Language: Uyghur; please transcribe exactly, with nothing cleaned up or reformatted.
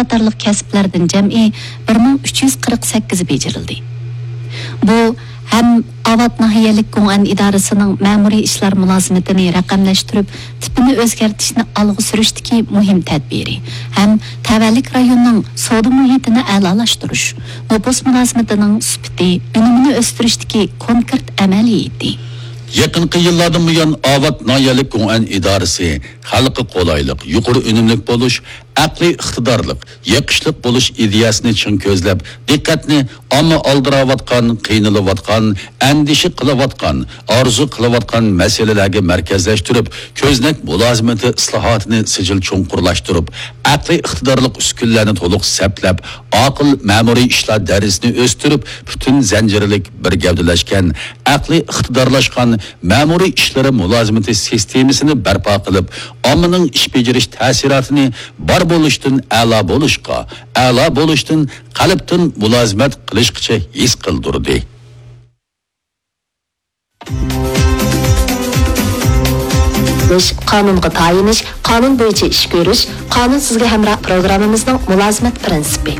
قاتارلىق كەسىپلەردىن جەمئىي بىر مىڭ ئۈچ يۈز قىرىق سەككىز بېجىرىلدى. بۇ ھەم ئاۋات ناھىيەلىك گوڭئەن ئىدارىسىنىڭ مەمۇرىي ئىشلار مۇلازىمىتىنى رەقەملەشتۈرۈپ، تىپىنى ئۆزگەرتىشنى ئالغا سۈرۈشتىكى مۇھىم تەدبىرى ھەم تەۋەلىك رايوننىڭ سودا مۇھىتىنى ئەلالاشتۇرۇش، نوپۇس مۇلازىمىتىنىڭ سۈپىتى، ئۈنۈمىنى ئۆستۈرۈشتىكى كونكرېت ئەمەلىيىتى. يېقىنقى يىللاردىن بۇيان، ئاۋات ناھىيەلىك گوڭئەن ئىدارىسى خەلققە قولايلىق، يۇقىرى ئۈنۈملۈك بولۇش، ئەقلىي ئىقتىدارلىق، يېقىشلىق بولۇش ئىدىيەسىنى چىڭ كۆزلەپ، دىققەتنى ئامما ئالدىراۋاتقان، قىينىلىۋاتقان، ئەندىشە قىلىۋاتقان، ئارزۇ قىلىۋاتقان مەسىلىلەرگە مەركەزلەشتۈرۈپ، كۆزنەك مۇلازىمىتى ئىسلاھاتىنى سىجىل چوڭقۇرلاشتۇرۇپ، ئەقلىي ئىقتىدارلىق ئۈسكۈنىلەرنى تولۇق سەپلەپ، ئاقىل مەمۇرىي ئىشلار دەرىجىسىنى ئۆستۈرۈپ، پۈتۈن زەنجىرلىك بىر گەۋدىلەشكەن، ئەقلىي ئىقتىدارلاشقان مەمۇرىي ئىشلىرى مۇلازىمىتى سىستېمىسىنى بەرپا قىلىپ، ئاممىنىڭ ئىش بېجىرىش تەسىراتىنى بار بولۇشتىن ئەلا بولۇشقا، ئەلا بولۇشتىن قەلبتىن مۇلازىمەت قىلىشقىچە ھېس قىلدۇردى. قانۇنغا تايىنىش، قانۇن بويىچە ئىش كۆرۈش، قانۇن سىزگە ھەمراھ پروگراممىمىزنىڭ مۇلازىمەت پىرىنسىپى.